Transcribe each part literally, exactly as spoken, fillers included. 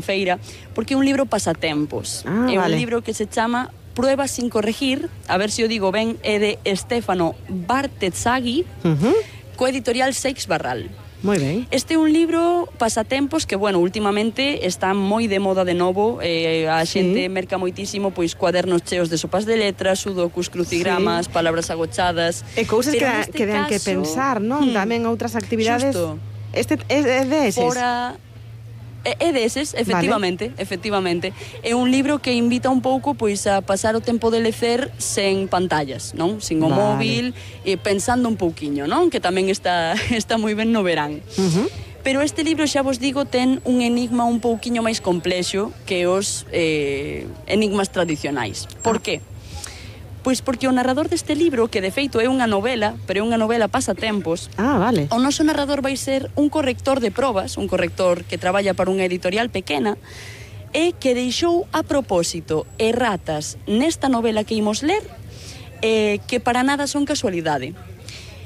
feira, porque é un libro pasatempos. Ah, é vale. un libro que se chama Pruebas sin corregir, a ver se o digo ben, é de Stefano Bartezzaghi, Uh-huh. co editorial Seix Barral. Moi ben. Este é un libro pasatempos que, bueno, últimamente está moi de moda de novo, eh, a Sí. xente merca moitísimo, pois, cuadernos cheos de sopas de letras, sudokus, crucigramas, Sí. palabras agochadas. E cousas que, Pero da, neste que dan que caso, pensar, non? hmm, Tamén outras actividades. Xusto. Este é é de eses. Fora... É, é deses, efectivamente, vale. efectivamente. É un libro que invita un pouco pois a pasar o tempo de lecer sen pantallas, non? Sin o Vale. móvil, e pensando un pouquiño, non? Que tamén está está moi ben no verán. Uh-huh. Pero este libro, xa vos digo, ten un enigma un pouquiño máis complexo que os eh, enigmas tradicionais. Por Ah. qué? Pois porque o narrador deste libro, que de feito é unha novela, pero é unha novela pasatempos, Ah, vale. o noso narrador vai ser un corrector de probas, un corrector que traballa para unha editorial pequena, e que deixou a propósito erratas nesta novela que imos ler, eh, que para nada son casualidade.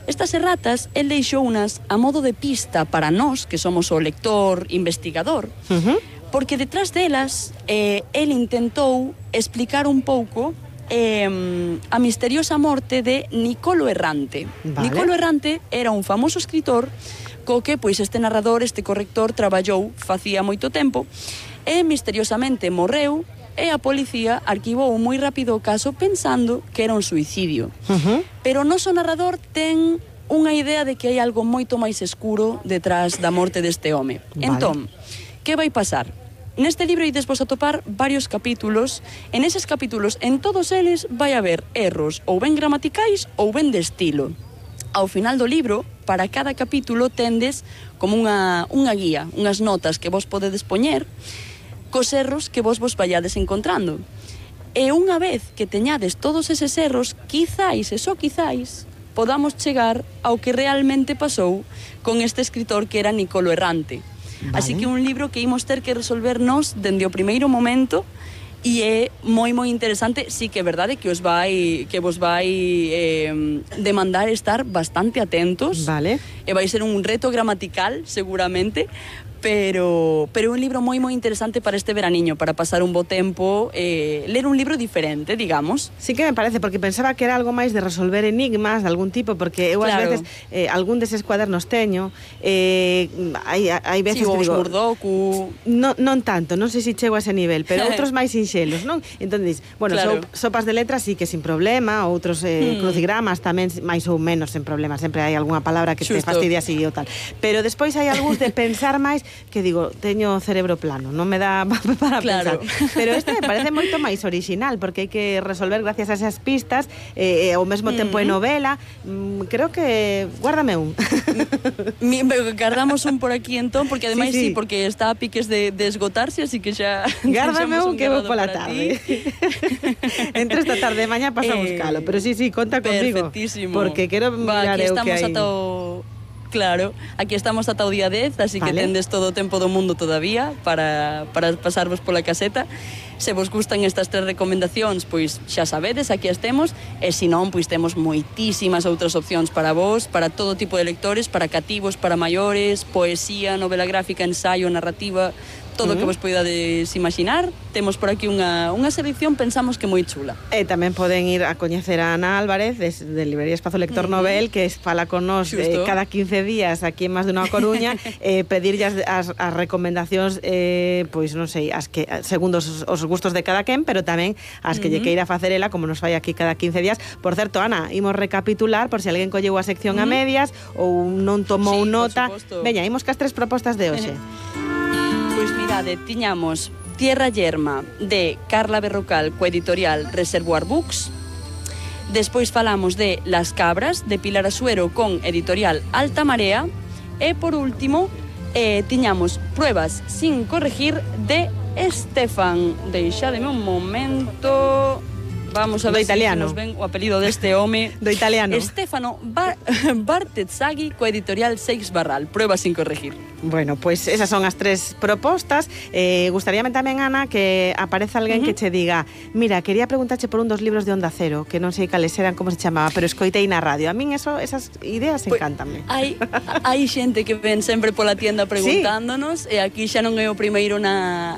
Estas erratas, el deixou unas a modo de pista para nós, que somos o lector investigador, Uh-huh. porque detrás delas, eh, el intentou explicar un pouco eh, a misteriosa morte de Nicolo Errante. Vale. Nicolo Errante era un famoso escritor co que pois este narrador, este corrector, traballou facía moito tempo e misteriosamente morreu e a policía arquivou moi rápido o caso pensando que era un suicidio. Uh-huh. Pero o noso narrador ten unha idea de que hai algo moito máis escuro detrás da morte deste home. Vale. Entón, que vai pasar? Neste libro ides vos atopar varios capítulos. En eses capítulos, en todos eles, vai haber erros ou ben gramaticais ou ben de estilo. Ao final do libro, para cada capítulo tendes como unha, unha guía, unhas notas que vos podedes poñer cos erros que vos vos vallades encontrando. E unha vez que teñades todos eses erros, quizáis, e só quizáis, podamos chegar ao que realmente pasou con este escritor que era Nicolo Errante. Vale. Así que un libro que imos ter que resolvernos dende o primeiro momento e é moi moi interesante. Sí que é verdade que os vai que vos vai eh, demandar estar bastante atentos. Vale. E vai ser un reto gramatical seguramente, pero pero é un libro moi moi interesante para este veraniño, para pasar un bo tempo, eh, ler un libro diferente, digamos. Sí que me parece, porque pensaba que era algo máis de resolver enigmas de algún tipo, porque eu ás Claro. veces eh, algún deses cuadernos teño, eh, hai, hai veces Sí, que os digo, Murdoku. non, non tanto, non sei se chego a ese nivel, pero outros máis sinxelos, non? Entón, dis, bueno, Claro. so, sopas de letras sí que sin problema, outros eh, Hmm. crucigramas tamén máis ou menos sen problema, sempre hai algunha palabra que te Xusto. fastidia así ou tal. Pero despois hai algúns de pensar máis que digo, teño o cerebro plano, non me dá para Claro. pensar. Pero este me parece moito máis orixinal, porque hai que resolver gracias a esas pistas, eh, e ao mesmo tempo é novela. Mm, creo que... Guárdame un. Mi, guardamos un por aquí entón, porque ademais Sí, sí, sí. sí, porque está a piques de, de esgotarse, así que xa... Gárdame deixamos un que vou guardado pola para tarde. ti. Entre esta tarde e mañá paso a Eh, buscalo, pero sí, sí, conta contigo. Perfectísimo. Porque quero Va, mirar aquí eu que estamos hai. ata o... Claro, aquí estamos ata o día dez, así que Vale. tendes todo o tempo do mundo todavía para, para pasarvos pola caseta. Se vos gustan estas tres recomendacións, pois xa sabedes, aquí estemos. E se non, pois temos moitísimas outras opcións para vos, para todo tipo de lectores, para cativos, para maiores, poesía, novela gráfica, ensaio, narrativa, todo o que vos poidades imaginar. Temos por aquí unha, unha selección, pensamos que moi chula. E tamén poden ir a coñecer a Ana Álvarez de, de Librería Espazo Lector Uh-huh. Novel, que es fala con nos eh, Xusto. cada quince días aquí en Más de unha Coruña, eh, pedirlle as, as, as recomendacións, eh, pois non sei, as que segundo os, os gustos de cada quen, pero tamén as que lle Uh-huh. queira facer ela, como nos fai aquí cada quince días. Por certo, Ana, imos recapitular por se alguén colleu a sección a Uh-huh. medias ou non tomou Sí, por nota. suposto. Veña, imos cas tres propostas de hoxe. Pois mirade, tiñamos Tierra Yerma de Carla Berrocal co editorial Reservoir Books. Despois falamos de Las Cabras de Pilar Asuero con editorial Alta Marea. E por último, eh, tiñamos Pruebas sin corregir de Estefan. Deixademe un momento. Vamos a Do ver italiano. se nos ven o apelido deste home. Do italiano. Stefano Bar Bartezzaghi, coa editorial Seix Barral. Prueba sin corregir. Bueno, pois pues esas son as tres propostas. Eh, gustaríame tamén, Ana, que apareza alguén uh -huh. que che diga: mira, quería preguntarche por un dos libros de Onda Cero, que non sei cales eran, como se chamaba, pero escoitei na radio. A min eso, esas ideas Pues, encántanme. Hai, hai xente que ven sempre pola tienda preguntándonos, ¿Sí? E aquí xa non é o primeiro na,